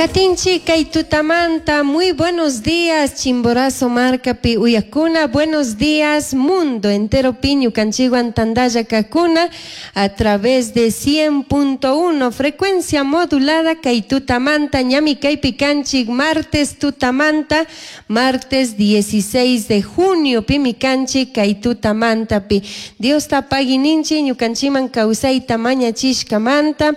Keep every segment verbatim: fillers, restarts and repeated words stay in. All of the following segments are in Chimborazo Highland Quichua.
Katinchi kay tutamanta, muy buenos días, Chimborazo markapi uyakuna, buenos días, mundo entero ñukanchikwan tandalla kakuna, a través de cien punto uno frecuencia modulada kay tutamanta, ñami kaypi kanchik martes tutamanta, martes dieciséis de junio pimi kanchik kay tutamantapi. Diosta pagui ninchi ñukanchiman kawsayta mañachishkamanta,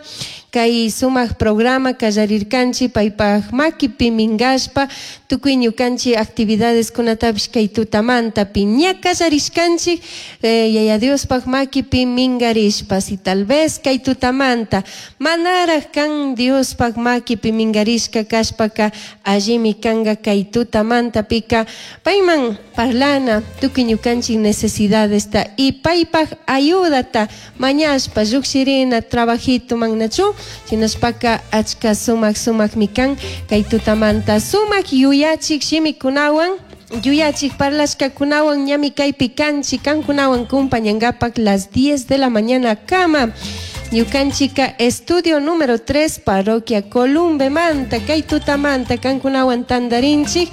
kay sumak programa kallarirkanchik paypaj makipi mingashpa tukuy ñukanchik actividades kunatapish kay tutamantapi ña kallarishkanchik eh, Yaya Diospaj makipi mingarishpa. Si tal vez kay tutamanta manaraj kan Diospaj makipi mingarishka kashpaka, allimi kanga kay tutamantapika payman parlana tukuy ñukanchik necesidadesta y paypaj ayudata mañashpa llukshirina trabajito mannachu. Shinashpaka achka sumak sumakmi kan kay tutamanta sumak yuyachik shimikunawan, yuyachik parlashkakunawan ñami kaypi kanchik kankunawan kumpañankapak las diez de la mañana kama. Ñukanchika estudio número tres, parroquia Columbe manta, kay tutamanta kankunawan tandarinchik,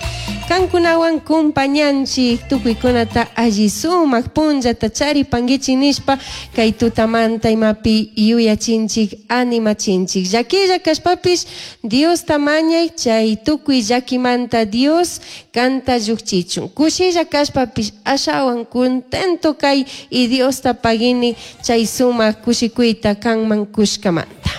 kankunawan kumpañanchik, tukuykunata alli sumak punllata charipanguichik nishpa kay tutamanta imapi yuyachinchik, animachinchik. Llaquilla kashpapish Diosta mañay chay tukuy llakimanta Dios kanta llukchichun. Kushilla kashpapish ashawan contento kay y Diosta paguini chay sumak kushikuyta kanman kushkamanta.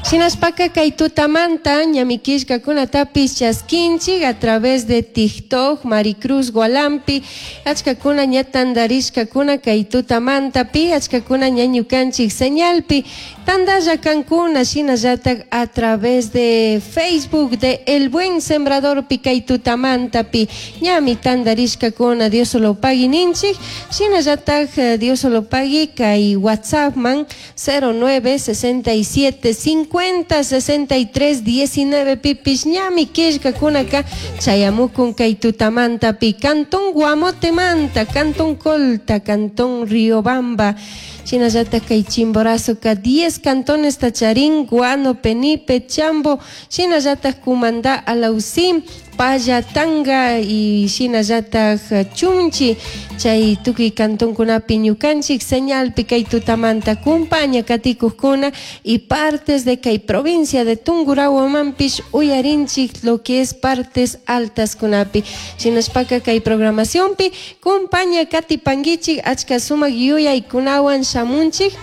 Shinashpaka kay tutamanta ñami killkakunatapish chaskinchik a través de TikTok, Maricruz Gualampi, achkakuna ña tandarishkakuna kay tutamantapi, achkakuna ña ñukanchik señalpi tandalla kankuna, shinallatak a través de Facebook de El Buen Sembrador pi kay tutamantapi ñami tandarishkakuna, Dios solo pagui ninchik, shinallatak eh, Dios solo pagui kay WhatsApp man cero nueve sesenta y siete cincuenta sesenta y tres diecinueve pipish ñami killkakunaka chayamukun kay tutamantapi, Cantón Guamotemanta, Cantón Colta, Cantón Riobamba, shinallatak kay Chimborazoka diez cantones tacharín, Guano, Penipe, Chambo, shinallatak Cumandá, Alausí, Pallatanga y shinallatak Chunchi, chay tukuy cantonkunapi ñukanchik señalpi kay tutamanta kumpaña katikukkuna y partes de kay provincia de Tungurahuamanpish uyarinchik lo que es partes altas kunapi. Shinashpaka kay programacionpi kumpaña katipanguichik, achka sumak yuyaykunawan shamunchik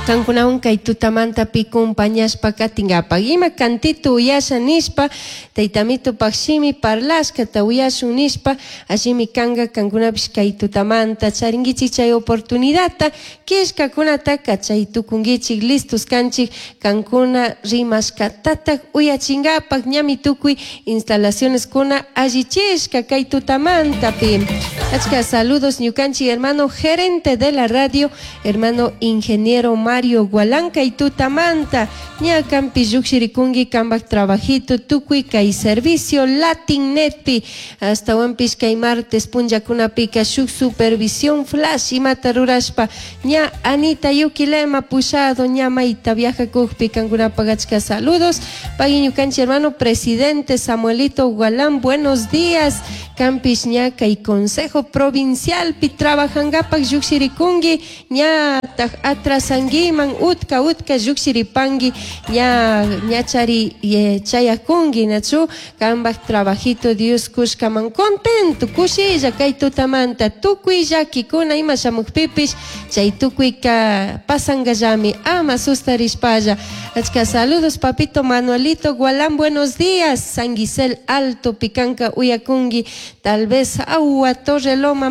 kankunawan kay tutamantapi kumpañashpa katinkapak. Ima cantito uyasha nishpa, taytamitupak shimi parlashkata uyashun nishpa, allimi kanka kankunapish kay tutamanta charinkichik chay oportunidadta, killkakunataka chay tukunkichik, listos kanchik kankuna rimashkatatak uyachinkapak, ñami tukuy instalaciones kuna allichishka kay tutamantapi. Achka saludos ñukanchik hermano gerente de la radio, hermano ingeniero Mario Gualán kay tutamanta, ña kampi llukshirikunki kambak trabajito tukuy kay servicio Latin Netpi, hasta kay martes punllakunapika shuk supervisión flash imata rurashpa ña Anita Yuquilema pushado ña mayta viajakukpi kankunapak achka saludos. Pagui ñukanchik hermano presidente Samuelito Gualán, buenos días, kampish ña kay consejo provincialpi trabajangapak llukshirikunki, ña atrasanguiman, utka utka llukshiripanki, ña ñachari chayakunki nachu kambak trabajito Dios kushkaman, contento kushilla kay tutamanta tukuy llakikuna ima shamukpipish chay tukuyka pasangallami, ama sustarishpalla. Achka saludos, papito Manuelito Gualán, buenos días, San Gisel Alto pikanka uyakunki, tal vez agua Torre Loma.